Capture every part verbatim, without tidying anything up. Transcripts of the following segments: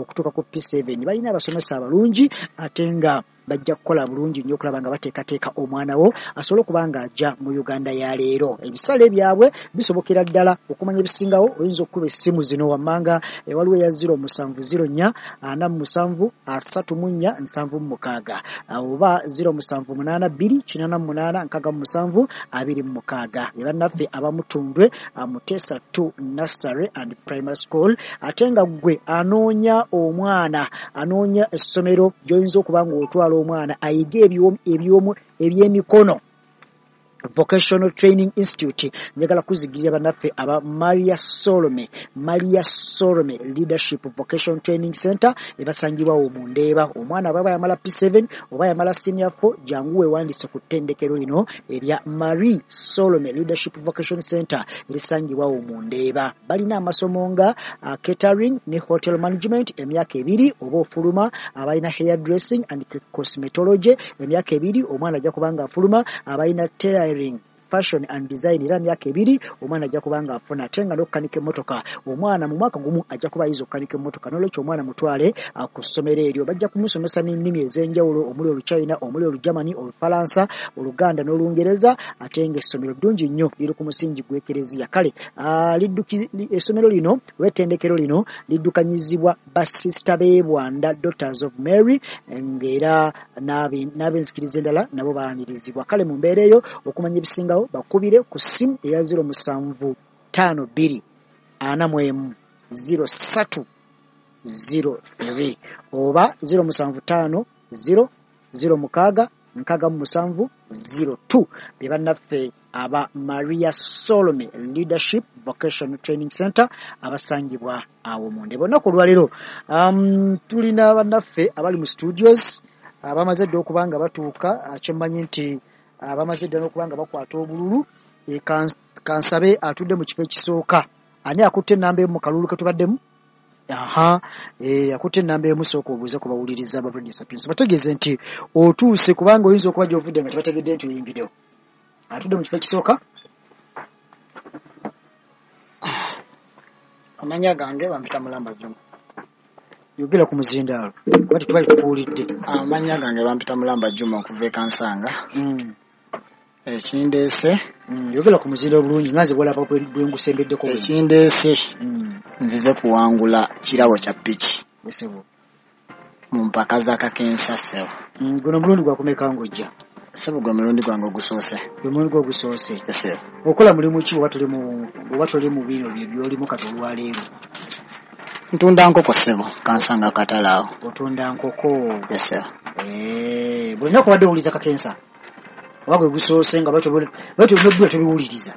okutuuka ku P seven. Balina abasomesa abalungi ate nga bajja kukola bulungi nnyo okulaba nga bateekateeka omwana wo asobole okuba nga ajja mu Uganda ya leero. Ebisale byabwe bisobokera ddala. Okumanya ebisingawo oyinza okukuba essimu zino wammanga, waliwo eya zero musanvu zero nnya ana mu musanvu asatu mu nnya nsanvu mu mukaaga oba zero musanvu munaana bbiri kinaana mu munaana nkaaga mu musanvu abiri mu mukaaga. Be bannaffe abamutundwe Muteesa two Nursery and Primary School. Ate nga ggwe anoonya omwana, anoonya essomero gy'oyinza okuba ng'otwala omwana ayige ebyemikono, Vocational Training Institute, njagala kuzigirira bannaffe aba Maria Solome, Maria Solome Leadership Vocational Training Center ebasangibwawo mu Ndeeba. Omwana bw'aba yamala P seven oba yamala senior four, jangu weewandiise ku ttendekero lino erya Marie Solome Leadership Vocation Center erisangibwawo mu Ndeeba. Balina amasomo nga uh, catering ne hotel management emyaka ebiri oba ofuluma, abalina hair dressing and cosmetology emyaka ebiri omwana ajja kuba nga afuluma, abalina tailoring, fashion and design era myaka ebiri omwana ajja kuba nga afuna, ate nga n'okukanika emmotoka omwana mu mwaka gumu ajja kuba ayize okukanika emmotoka. N'olwekyo omwana mutwale ku ssomero eryo, bajja kumusomesa n'ennimi ez'enjawulo omuli Oluchina, omuli Olugermany, Olufalansa, Oluganda n'Olungereza, ate ng'essomero ddungi nnyo liri ku musingi gw'Ekereziya. Kale essomero lino oba ettendekero lino liddukanyizibwa basisita b'e Bwanda Daughters of Mary, ng'era n'ab'enzikiriza endala nabo baanirizibwa. Kale mu mbeera eyo okumanya ebisingawo bakubire ku ssimu eya zero musanvu ttaano bbiri ana mu emu zero ssatu zero three oba zero musanvu ttaano zero zero mukaaga nkaaga mu musanvu zero two. Be bannaffe aba Maria Solome Leadership Vocational Training Center abasangibwa awo mu Ndeeba. Olunaku olwaleero um, tulina bannaffe abali mu studios abamaze dda okuba nga batuuka, kyemmanyi nti abamaze dda n'okuba nga bakwata obululu. Kansabe atudde mu kifo ekisooka. Ani akutte ennamba emu mu kalulu ke tubaddemu? Aha, eh, akutte ennamba emu, sooka obuuze ku bawuliriza ba Radio Sapientia bategeeze nti otuuse, kubanga oyinza okuba gy'ovudde nga tebategedde nti oyingiddewo. Atudde mu kifo ekisooka. Amannya gange bampita Mulamba Juma. Yogera ku muzindaalo kuba tetubali tukuwulidde. Amannya gange bampita Mulamba Juma okuva e Kansanga. Mm. Ekindeese mm, yogera ku muzindaalo bulungi nga nze bw'olaba bwe ngusembeddeko. Ekindeese mm. nzize kuwangula kirabo kya piki Esebo mu mpaka za Kakensa ssebo. Mm, guno omulundi gwakumeka ng'ojja? Ssebo gwe mulundi gwange ogusoose. Gwe mulundi gwo ogusoose. Ssebo. Okola mulimu ki oba toli mu oba toli mu bino bye by'olimu kati olwaleero? Ntunda nkoko ssebo, Kansanga katale awo. Otunda nkoko? Ssebo. Eh, buli lunaku obadde owuliriza Kakensa? Oba gwe gusoose nga lwaki tobiwuliriza?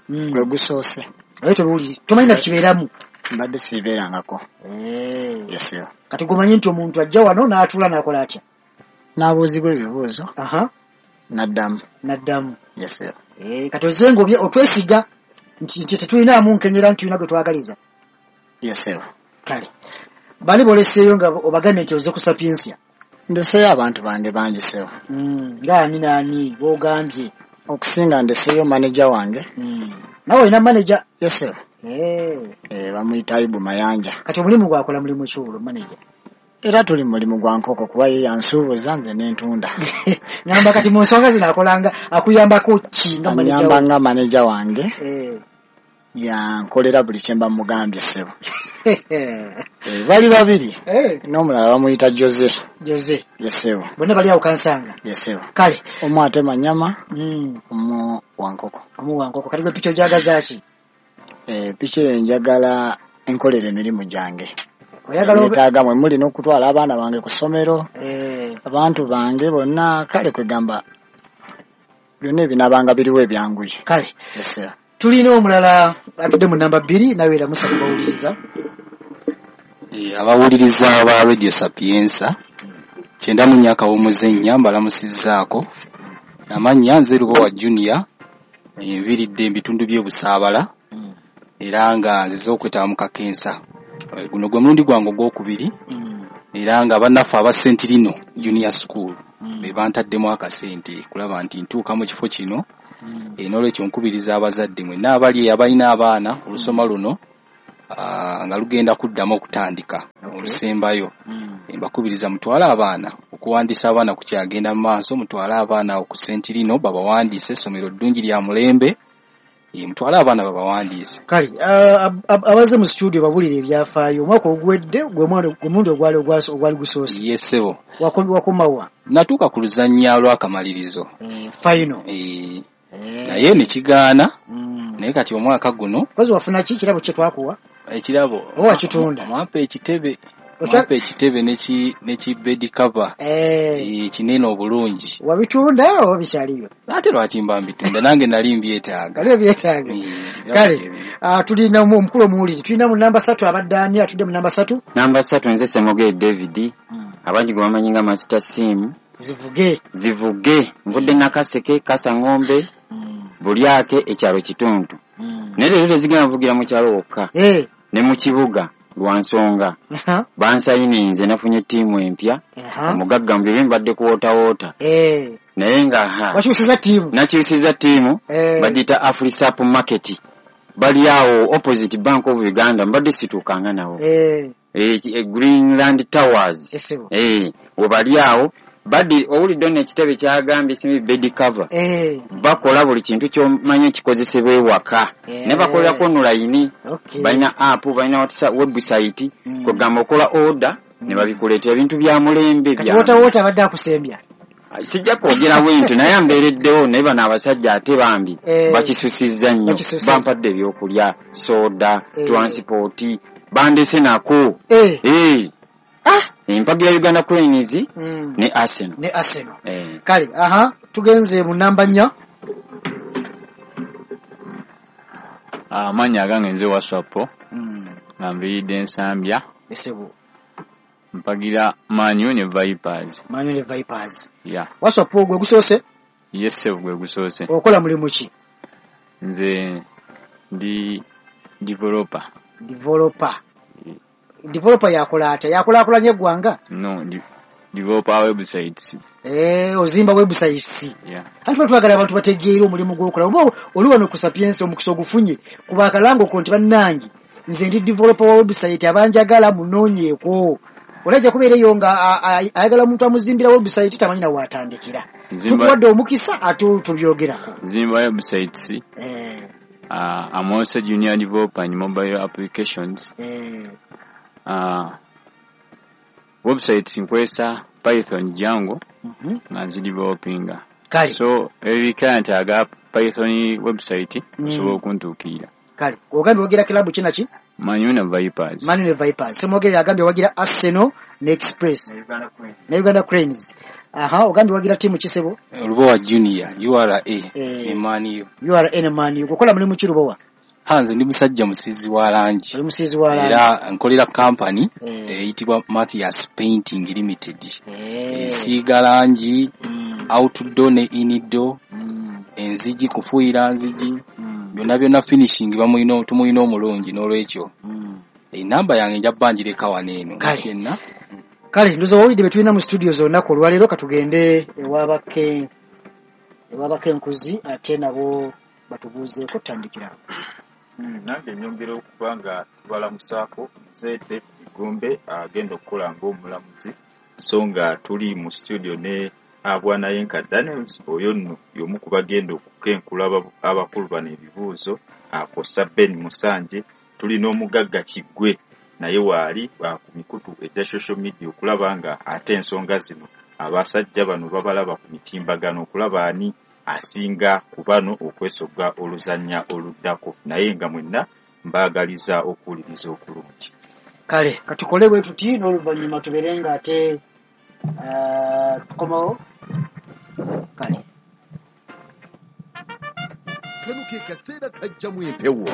Gwe gusoose. Lwaki tobiwuliriza? Tomanyi na kibeeramu? Mbadde sibibeerangako. Eh. Ssebo. Kati gw'omanyi nti omuntu ajja wano n'atuula n'akola atya? N'abuuzibwa ebibuuzo. Aha. N'addamu. N'addamu. Ssebo. Eh, kati ozze ng'obye otwesiga nti nti tetulinaamu nkenyera nti tulina gwe twagaliza. Ssebo. Kale. Bali boleseeyo nga obagambye nti ozze ku Sapientia? Ndeseeyo abantu bange bangi ssebo. Mm, ng'ani n'ani b'ogambye? Okusinga ndeseeyo maneja wange. Mm. Nawe olina maneja? Ssebo. Eh. Eh, bamuyita Ayubu Mayanja. Kati omulimu gwakola mulimu ki olwo maneja? Era tuli mulimu gwa nkoko kuba ye yansuubuza nze n'entunda. Ngamba kati mu nsonga zino akolanga akuyambako ki nga maneja? Anyamba nga maneja wange. Eh. Yankolera buli kye mba mugambye ssebo. Eh, bali babiri. Eh. N'omulala bamuyita Jose. Jose. Ssebo. Bonna bali awo Kansanga? Ssebo. Kale. Omu atema nnyama, Mm. omu wa nkoko. Omu wa nkoko. Kati gwe piki ogyagaza ki? Eh, piki eyo njagala enkolera emirimu gyange. Oyagala obe- Neetaaga mwe muli n'okutwala abaana bange ku ssomero, Eh. abantu bange bonna, kale kwegamba byonna ebinaabanga biriwo ebyanguye. Kale. Ssebo. Tulina omulala atudde mu namba bbiri nawe era musa kubawuliriza. Eh, abawuliriza ba Radio Sapientia kyenda mu nnya akawumuze nnya mbalamusizzaako. Amannya nze Lubowa Junior, nviiridde mu bitundu by'e Busaabala era nga nzize okwetaba mu Kakensa. Guno gwe mulundi gwange ogwokubiri era nga bannaffe aba Sentirino Junior School be bantaddemu akasente kulaba nti ntuuka mu kifo kino. N'olwekyo nkubiriza abazadde mwenna abali abalina abaana olusoma luno uh, nga lugenda kuddamu okutandika olusembayo. Mbakubiriza mutwale abaana okuwandiisa abaana kukyagenda mu maaso, mutwale abaana ku Sentirino babawandiise, essomero ddungi lya mulembe, mutwale abaana babawandiise. Kale abaze mu studio babulire ebyafaayo. Omwaka oguwedde gwe mulundi ogwali ogwali gusoose. Ye ssebo. Wakomawa? Natuuka ku luzannya lw'akamalirizo. Final. Naye ne kigaana. Naye kati omwaka guno. Kozi wafuna ki kirabo kye twakuwa? Ekirabo. Oba wakitunda? Mwampa ekitebe. Mwampa ekitebe ne ki bed cover. Kinene obulungi. Wabitunda oba bikyaliyo? Ate lwaki mba mbitunda? Nange nali mbyetaaga. Kale byetaaga. Kale tulina omukulu omuwuliri. Tulina mu namba ssatu abadde ani atudde mu namba ssatu? Namba ssatu nze Ssemogere David. Abangi gwe bamanyi nga Master Sim. Zivuge. Zivuge. Nvudde Nakaseke, Kasangombe, Bulyake, ekyalo Kituntu. Naye leero tezigenda nvugira mu kyalo wokka. Ne mu kibuga. Lwa nsonga bansayininze nafunye ttiimu empya. Omugagga mu biro mbadde ku Water Water. Naye nga wakyusiza ttiimu, nakyusiza ttiimu bagiyita Afrisap Market, bali awo opposite Bank of Uganda, mbadde situukanga nawo Greenland Towers we bali awo. Badde owulidde nno ekitebe kyagambye simi bed cover. Bakola buli kintu ky'omanyi ekikozesebwa ewaka. Ne bakolerako online. Balina app, balina WhatsApp website. Kwegamba okola order ne babikuleetera ebintu bya mulembe. Kati Water Water abadde akusembya. Sijja kwogera bwentyo naye ambeereddewo, naye bano abasajja ate bambi bakisusizza nnyo. Bampadde ebyokulya, soda, transport, bandese nako. Empagira Uganda Cranes mm. ne Arsenal. Ne Arsenal. Eh. Kale, aha, tugenze mu namba nnya. Ah, manya gange nze Waswapo. Mm. Ngambiridde Nsambya. Esebo. Mpagira Man U ne Vipers. Man U ne Vipers. Yeah. Waswapo gwe gusoose? Yes, gwe gusoose. Okola mulimu ki? Nze ndi developer. Developer. Developer yakola atya? Yakulaakulanya eggwanga? No, developer websites. Eh, ozimba websites. Yeah. Anti twagala abantu bategeere omulimu gw'okola. Oba oli wano ku Sapientia omukisa ogufunye kuba akalango ko nti bannange nze ndi developer wa website abanjagala munoonyeeko. Olajja kubeera eyo nga ayagala omuntu amuzimbira website tamanyi na waatandikira. Tukuwadde omukisa ate tubyogerako. Nzimba websites. Eh. Uh, I'm also junior developer in mobile applications. Eh. Uh, websites nkozesa Python Django mm-hmm. nga nzidevelopinga. Kale. So every client aga Python website osobola mm. okuntuukirira. Kale ogambye wagira club ki naki? Man U ne Vipers. Man U ne Vipers. Ssemwogerere agambye wagira Arsenal ne Express ne Uganda Cranes. Ne Uganda Cranes. Aha, ogambye wagira tiimu ki ssebo? Lubowa Junior, U R A eh, ne Man U. U R A ne Man U. Okola mulimu ki Lubowa? Hanze ndi musajja musizi wa langi. Oli musizi wa langi. Era nkolera company eyitibwa eh. Mathias Painting Limited. Eh. Esiiga langi, mm. outdoor ne indoor, mm. enzigi kufuuyira nzigi, mm. byonna byonna finishing bamuyina tumuyina omulungi n'olwekyo. Mm. Enamba yange nja bbanjireka wano eno. Kale. Kale ndoza owulidde be tulina mu studio zonna ku olwaleero, katugende ewabake ewabake enkuzi ate nabo batubuuzeeko tutandikira. Nange nyongera okuba nga tubalamusaako nze David Gombe agenda okukola ng'omulamuzi, so nga tuli mu studio ne Abwanayenka Daniels, oyo nno y'omu ku bagenda okukenkula abakulu bano ebibuuzo, akosa Ben Musanje. Tuli n'omugagga Kiggwe naye waali ku mikutu egya social media okulaba nga ate ensonga zino abasajja bano babalaba ku mitimbagano okulaba ani asinga ku bano okwesogga oluzannya oluddako, naye nga mwenna mbaagaliza okuwuliriza okulungi. Kale katukole bwe tuti n'oluvannyuma tubeere nga ate tukomawo. Kale kano ke kaseera kajjamu empewo.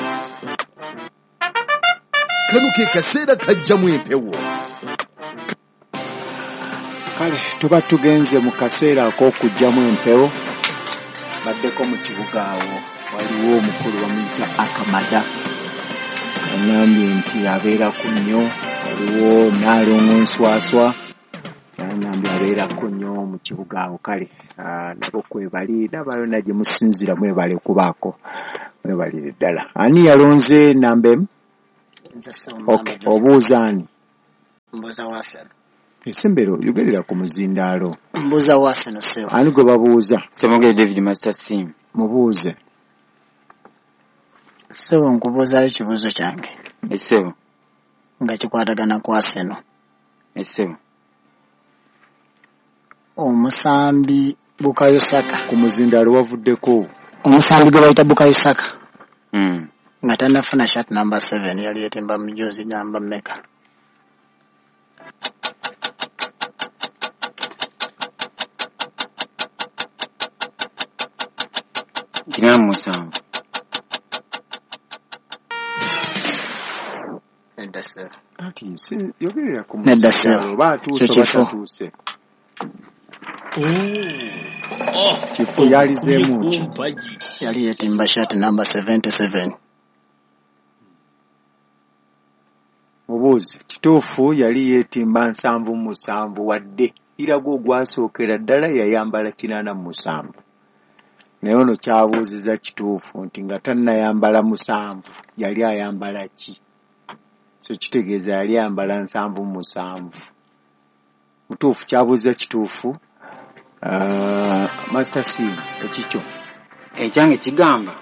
Kano ke kaseera kajjamu empewo. Kale tuba tugenze mu kaseera ak'okujjamu empewo. Baddeko mu kibuga awo waliwo omukulu bamuyita Akamada, aŋŋambye nti abeerako nnyo. Waliwo Nnaalongo Nswaswa aŋŋambye abeerako nnyo mu kibuga awo. Kale nabo kwebali n'abalala gye musinziira mwebale kubaako, mwebalire ddala. Ani yalonze namba emu? Okay, obuuza ani? Mbuuza wa Arsenal. Esembero yogerera ku muzindaalo. Mbuuza wa Arsenal ssebo. Ani gwe babuuza? Ssemwogere David Master Sim. Mubuuze. Ssebo nkubuuzaayo ekibuuzo kyange. Essebo. Nga kikwatagana ku Arsenal. Essebo. Omusambi Bukayo Saka. Ku muzindaalo wavuddeko. Omusambi gwe bayita Bukayo Saka. Mm. Nga tannafuna shirt number seven yali yeetimba mujozi namba mmeka? Kinaana mu musanvu. Nedda ssebo. Ati si yogerera ku Nedda muzindaalo ssebo. oba atuuse Kyo oba kifo. tatuuse. Kifo yalizeemu ki? Yali yeetimba shirt number seventy-seven. Mubuuze. Kituufu yali yeetimba nsanvu mu musanvu wadde iraga ogwasookera ddala yayambala kinaana mu musanvu. Naye ono kyabuuziza kituufu nti nga tannayambala musanvu yali ayambala ki? So kitegeeza yali ayambala nsanvu mu musanvu. Mutuufu kyabuuziza kituufu. Uh, Master C ekikyo. Ekyange kigamba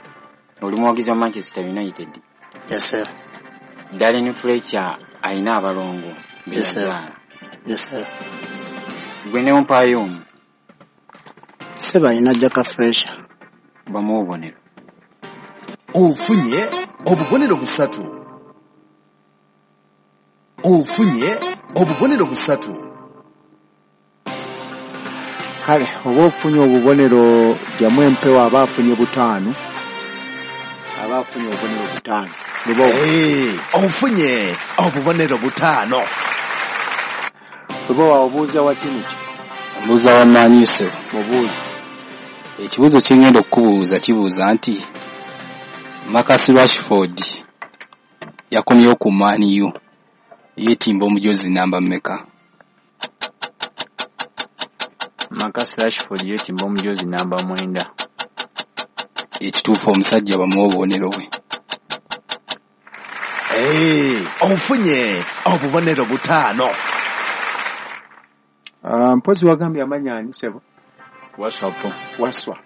oli muwagizi wa Manchester United. Yes sir. Darren Fletcher alina abalongo be Yes sir. yazaala. Yes sir. Gwe ne ompaayo omu. Ssebo alina Jack Fletcher. Bamuwa obubonero. Ofunye obubonero busatu. Ofunye obubonero busatu. Kale oba ofunye obubonero jjamu empewo aba afunye butaano. Aba afunye obubonero butaano. Lubowa. Hey, ofunye obubonero butaano. Lubowa obuuza wa ttiimu ki? Mbuuza wa Man U ssebo. Mubuuze. Ekibuuzo kye ngenda okukubuuza kibuuza nti Marcus Rashford yakomyewo ku Man U yeetimba omujozi namba mmeka? Marcus Rashford yeetimba omujozi namba mwenda. Ekituufu omusajja bamuwe obubonero bwe. Hey, ofunye obubonero butaano. Uh, mpozi wagambye amanya ani ssebo? Waswa po. Waswa.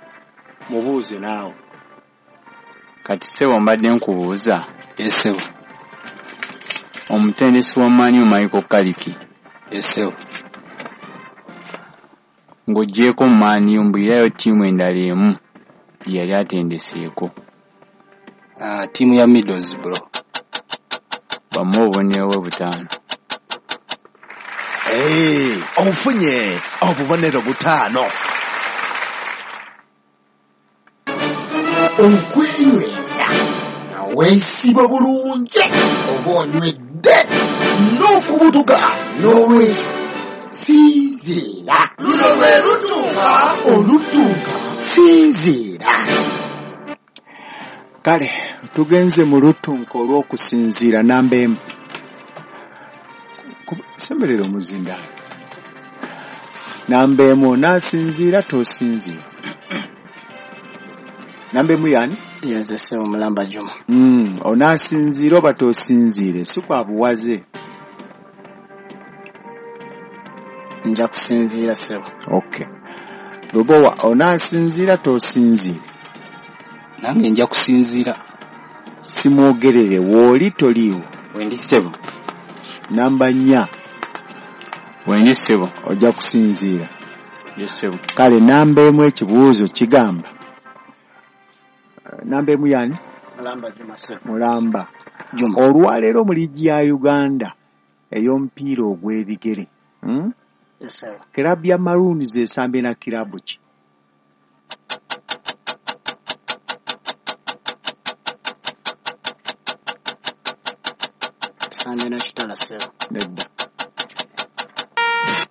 Mubuuze naawe. Kati ssebo mbadde nkubuuza. Ssebo. Omutendesi wa Man U Michael Carrick. Ssebo. Ng'oggyeeko Man U mbulirayo ttiimu endala emu gye yali atendeseeko. Uh, ttiimu ya Middlesbrough. Bamuwe obubonero bwe butaano. Hey, ofunye obubonero butaano. Okwenyweza nga weesiba bulungi oba onywedde n'ofubutuka n'olwekyo sinziira. Luno lwe lutuuka olutuuka sinziira. Kale tugenze mu lutunka olw'okusinziira namba emu. Semberera omuzindaalo. Namba emu onaasinziira tosinziira. Namba emu y'ani? Yenze ssebo Mulamba Juma. Mm, onaasinziira oba tosinziire si kwa buwaze. Nja kusinziira ssebo. Okay. Lubowa onaasinziira tosinziire. Nange nja kusinziira. Simwogerere w'oli toliiwo. Wendi ssebo. Namba nnya. Wendi ssebo. Ojja kusinziira. Yes ssebo. Kale namba emu ekibuuzo kigamba. Namba emu y'ani? Mulamba Juma ssebo. Mulamba. Juma. Olwaleero mu liigi ya Uganda ey'omupiira ogw'ebigere. Hmm? Yes sir. Kiraabu ya Maroons esambye na kiraabu ki? Esambye na Kitala ssebo. Nedda.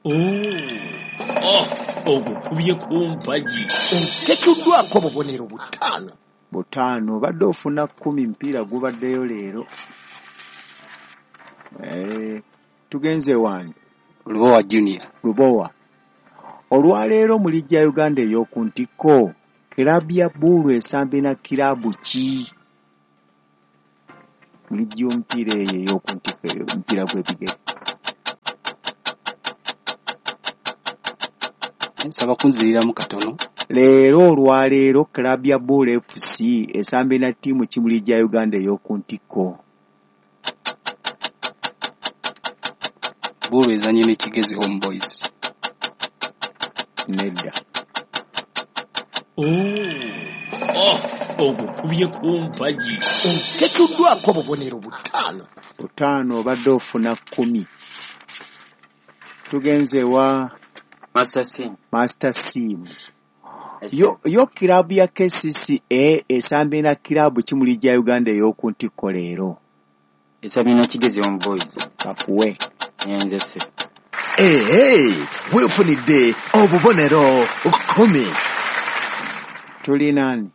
Oh, ogukubye ku mpagi. Oteekeddwako obubonero butaano. Butaano obadde ofuna kkumi mpiira gubaddeyo leero. Eh, tugenze wange. Lubowa Junior. Lubowa. Olwaleero mu liigi ya Uganda ey'oku ntikko kiraabu ya Bbuulu esambye na kiraabu ki? Mu liigi y'omupiira eyo ey'oku ntikko, omupiira gw'ebigere. Nsaba kunziriramu katono. Leero olwaleero club ya Bul F C esambye na ttiimu ki mu liigi ya Uganda ey'oku ntikko? Bul ezannye ne Kigezi Home Boys. Nedda. Oh, ogukubye ku mpagi. Oketuddwako obubonero butaano. Butaano, obadde ofuna kkumi. Tugenze ewa Master Sim. Master Sim. Yo, yo kiraabu ya K C C A esambye na kiraabu ki mu liigi ya Uganda ey'oku ntikko leero? Esambye na Kigezi Home Boys. Kakuwe. Nyenze se. Ehe, weefunidde obubonero kkumi. Tuli nani?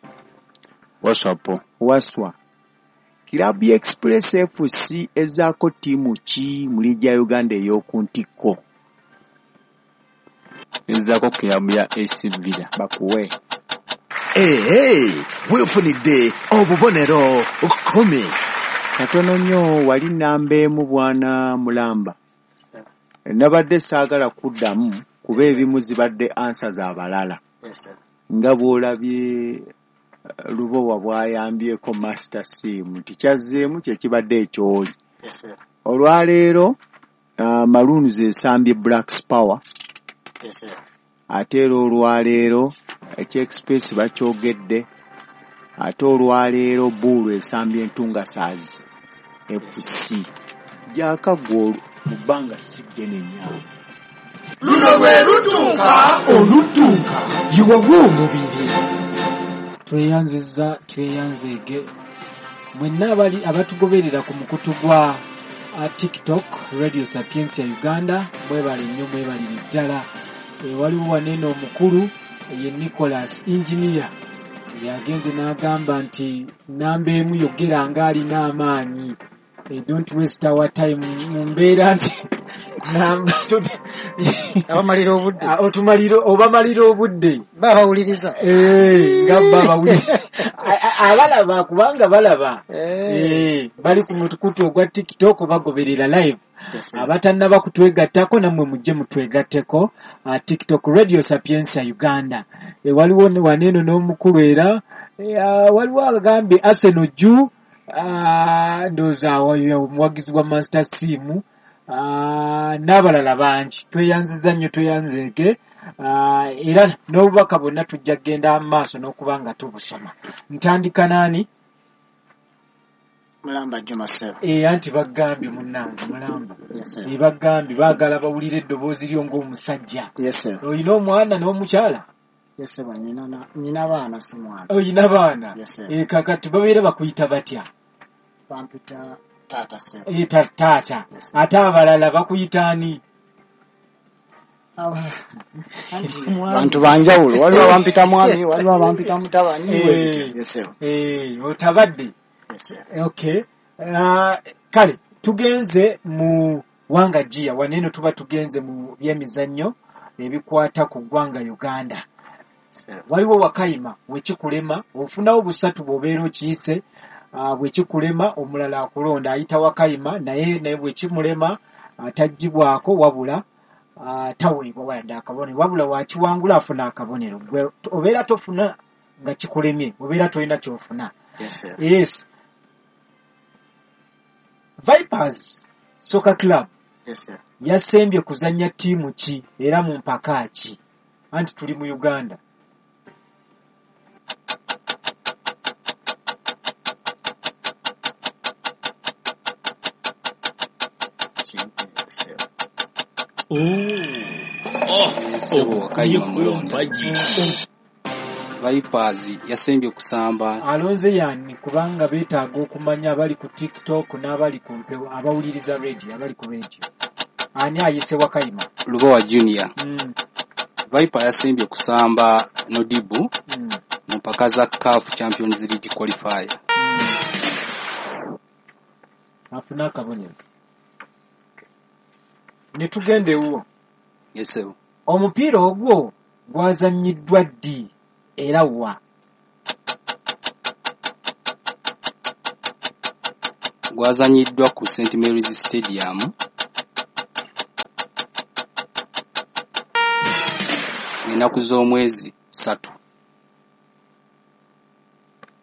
Waswapo. Waswa. Kiraabu ya Express F C ezaako ttiimu ki mu liigi ya Uganda ey'oku ntikko? Ezaako kiraabu ya A C Villa. Bakuwe. Ehe, weefunidde obubonero kkumi. Katono nnyo, wali namba emu bwana Mulamba. Nabadde saagala kuddamu kuba ebimu zibadde answer z'abalala. Nga bw'olabye eh, Lubowa bw'ayambyeko Master Sim nti kyazzeemu kye kibadde ekyoli. Olwaleero uh, Maroons esambye Blacks Power, ate era olwaleero ekya Express bakyogedde, ate olwaleero Buulu esambye Entungasaazi F C. Gyakaggwa mu bbanga si ddene nnyo. Luno lwe lutuuka oluttunka yiwawa omubiri. Tweyanziza, tweyanzeege mwenna abali abatugoberera ku mukutu gwa uh, TikTok Radio Sapientia Uganda. Mwebale nnyo, mwebalire ddala. E, waliwo wanene omukulu ye Nicholas Engineer yagenze n'agamba nti namba emu yogera ng'alina amaanyi. E, don't waste our time mu mbeera nti namba abamalira obudde. Ah, otumalira, obamalira obudde. Babawuliriza. Eh, nga babawuliriza, abalaba kubanga balaba. Eh, bali ku mukutu ogwa TikTok bagoberera live. Abatannaba kutwegattako nammwe mujje mutwegatteko, uh, TikTok Radio Sapientia Uganda. E, waliwo ne- waneeno n'omukulu era e, uh, waliwo agambye Arsenal juu, uh, ndowooza awo omuwagizi wa Master Sim, uh, n'abalala bangi. Tweyanziza nnyo, tweyanzeege. uh, era n'obubaka bwonna tujja kugenda mu maaso n'okuba nga tubusoma. Ntandika naani? Mulamba Juma Sebo. E, anti bagambye munnange Mulamba. Yes, sir. E, bagambye baagala bawulire eddoboozi lyo ng'omusajja. Yes, sir. Olina omwana n'omukyala? Yes, sir. Nina na- nina baana, si mwana. Olina baana? Yes, sir. E, kakati babeera bakuyita batya? Bampita taata Sebo. E, ta- taata. Yes, sir. Ate abalala bakuyita ani? Anti mwami. Bantu banjawulo, waliwo abampita mwami, waliwo abampita mutabani. Eh. Bwe bityo. Yes, sir. E, otabadde. Yes, sir. Okay. Uh, kale tugenze mu wanga gia waneeno, tuba tugenze mu byemizannyo ebikwata ku ggwanga Uganda. Sir. Waliwo wakayima wekikulema ofunawo busatu, bw'obeera okiyise, uh, bwekikulema omulala akulonda ayita wakayima, naye naye bwekimulema uh, tagibwako wabula uh, taweebwa wadde akabonero, wabula wakiwangula afuna akabonero. Gwe obeera tofuna nga kikulemye, obeera tolina kyofuna. Yes, sir. Yes, Vipers Soccer Club Yes, sir. yasembye kuzannya ttiimu ki era mu mpaka ki? Anti tuli mu Uganda. Sir. Ssebo, Wakayima Mulonda. Mpagi. Vipers yasembye kusamba Alonze yani kubanga beetaaga okumanya abali ku TikTok n'abali ku mpewo, abawuliriza radio, abali ku radio. Ani ayise Wakayima? Lubowa Junior. mm, Viper yasembye kusamba Nodibu mm, mu mpaka za CAF Champions League qualifier. mm. afune akabonero ne tugenda ewuwo. Yes, ssebo. Omupiira ogwo gwazannyiddwa ddi era wa? Gwazanyiddwa ku Saint Mary's Stadium ennaku z'omwezi ssatu.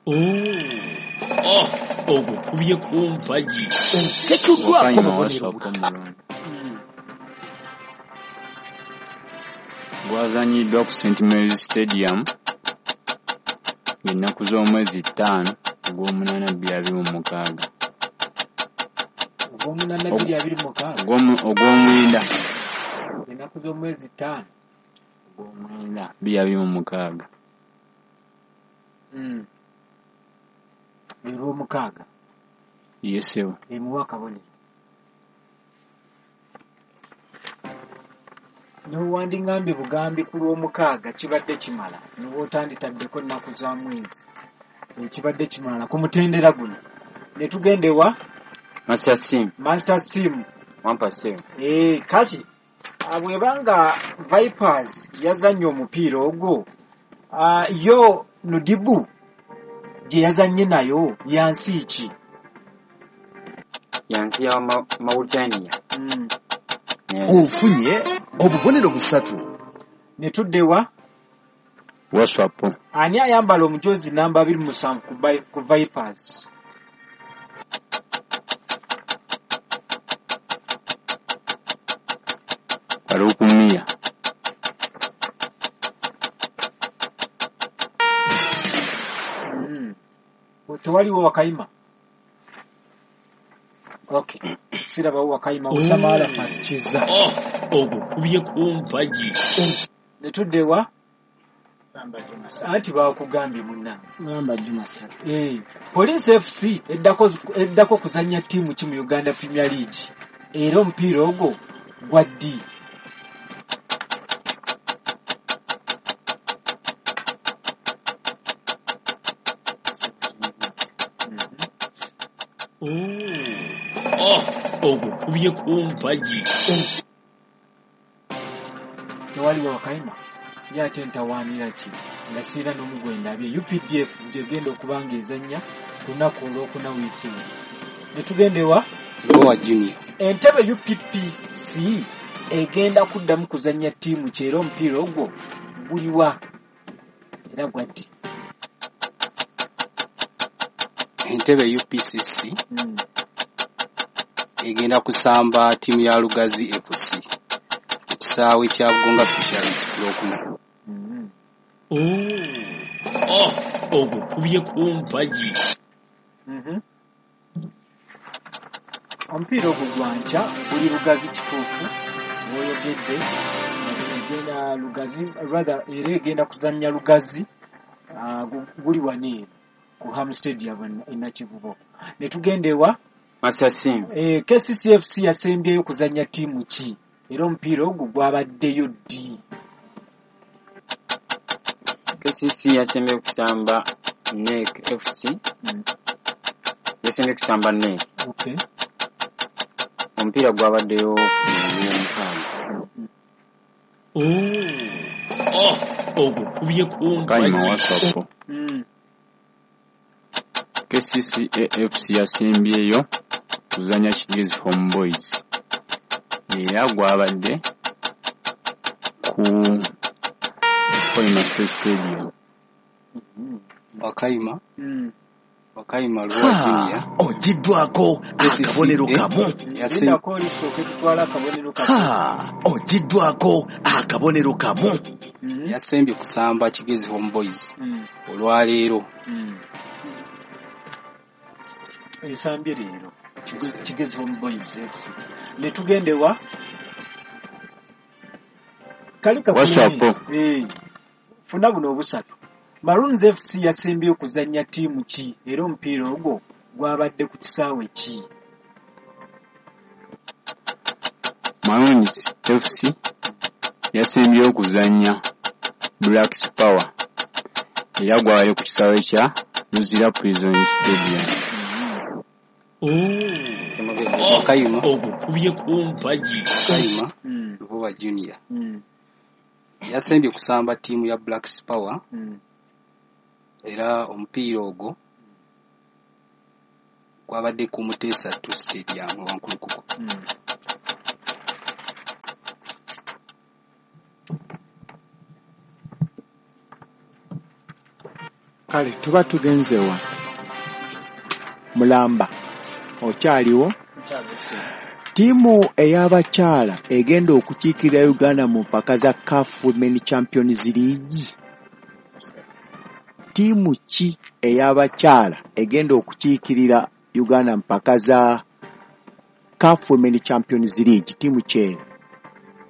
Oh, ogukubye ku mpagi. Oketuddwako obubonero butaano. Gwazanyiddwa ku Saint Mary's Stadium ng'ennaku z'omwezi ttaano ogw'omunaana bbiri abiri mu mukaaga. Ogw'omunaana bbiri abiri mu mukaaga? Ogw'omwenda. Ennaku z'omwezi ttaano ogw'omwenda bbiri abiri mu mukaaga. Olw'omukaaga. Ye ssebo. Emuwa akabonero. N'owandingambye bugambi ku lw'omukaaga kibadde kimala, n'oba otanditaddeko ennaku za mwezi. Ekibadde kimala ku mutendera guno. Ne tugenda ewa Master Sim. Master Sim. Wampa ssebo. Eh, kati bw'ebanga Vipers yazannye omupiira ogwo, yo Nudibu gye yazannye nayo ya nsi ki? Ya nsi ya Mauritania. Mm. Ofunye obubonero busatu. Ne tudda ewa Waswapo. Ani ayambala omujoozi namba abiri mu musanvu ku Vipers? Farouk Mia. Mm. Tewaliwo Wakayima? Okay. Sirabawo Wakayima. Osama Arafat Kizza. Oh, ogukubye ku mpagi. Ne tudda ewa anti baakugambye munnange. Mulamba Juma ssebo. Eh, Police F C eddako eddako kuzannya ttiimu ki mu Uganda Premier League? Era omupiira ogwo gwa ddi? Oh, ogukubye ku mpagi. Tewaliwo Wakayima? Ye ate ntawaanira ki nga sirina n'omu gwe ndabye. U P D F gy'egenda okuba ng'ezannya ku lunaku olwokuna wiiki eno. Ne tugenda ewa Lubowa Junior. Entebe U P P C egenda kuddamu kuzannya ttiimu ki, era omupiira ogwo guliwa era gwa ddi? Entebe U P C C Mm. egenda kusamba ttiimu ya Lugazi F C ku kisaawe kya Bugonga Fisheries ku Lwokuna. Mm. Oh, ogukubye ku mpagi. Mhm. Omupiira ogwo gwa nkya, guli Lugazi, kituufu bw'oyogedde, egenda Lugazi, rather era egenda kuzannya Lugazi, uh, guli wano eno ku Ham Stadium e Nakivubo. Ne tugenda ewa Master Sim. eh, K C C F C yasembyeyo kuzannya ttiimu ki, era omupiira ogwo gwabaddeyo ddi? K C C yasembye kusamba N E C F C. Mm. Yasembye kusamba N E C. Okay. Omupiira gwabaddeyo ku Lwomukaaga. Oh, ogukubye ku Wakayima mpagi. Waswapo. Mm. K C C A F C yasembyeyo kuzannya Kigezi Home Boys era gwabadde ku Hoima State Stadium. Wakayima Mm. Wakayima Lubowa Junior. Ogiddwako akabonero kamu. Yase- Lindako oli tusooke tutwale akabonero kamu. Ha, ogiddwako akabonero kamu. Mhm. Yasembye kusamba Kigezi Home Boys Mm. olwaleero. Mm. Esambye leero Kige- Kigezi Home Boys F C. Ne tugenda ewa kali Waswapo. Eh, funa buno obusatu. Maroons F C yasembye okuzannya ttiimu ki, era omupiira ogwo gwabadde ku kisaawe ki? Maroons F C yasembyeyo okuzannya Black Power era gwabadde ku kisaawe kya Luzira Prison Stadium. Wakayima Ogukubye ku mpagi. Wakayima Mm. Lubowa Junior Mm. yasembye kusamba ttiimu ya Black Power Mm. era omupiira ogwo Gwabadde ku Muteesa two Stadium Wankulukuku. Mm. Kale tuba tugenze wa Mulamba, okyaliwo? Ttiimu ey'abakyala egenda okukiikirira Uganda mu mpaka za CAF Women Champions League. Ttiimu ki ey'abakyala egenda okukiikirira Uganda mu mpaka za CAF Women Champions League? Ttiimu ki eyo?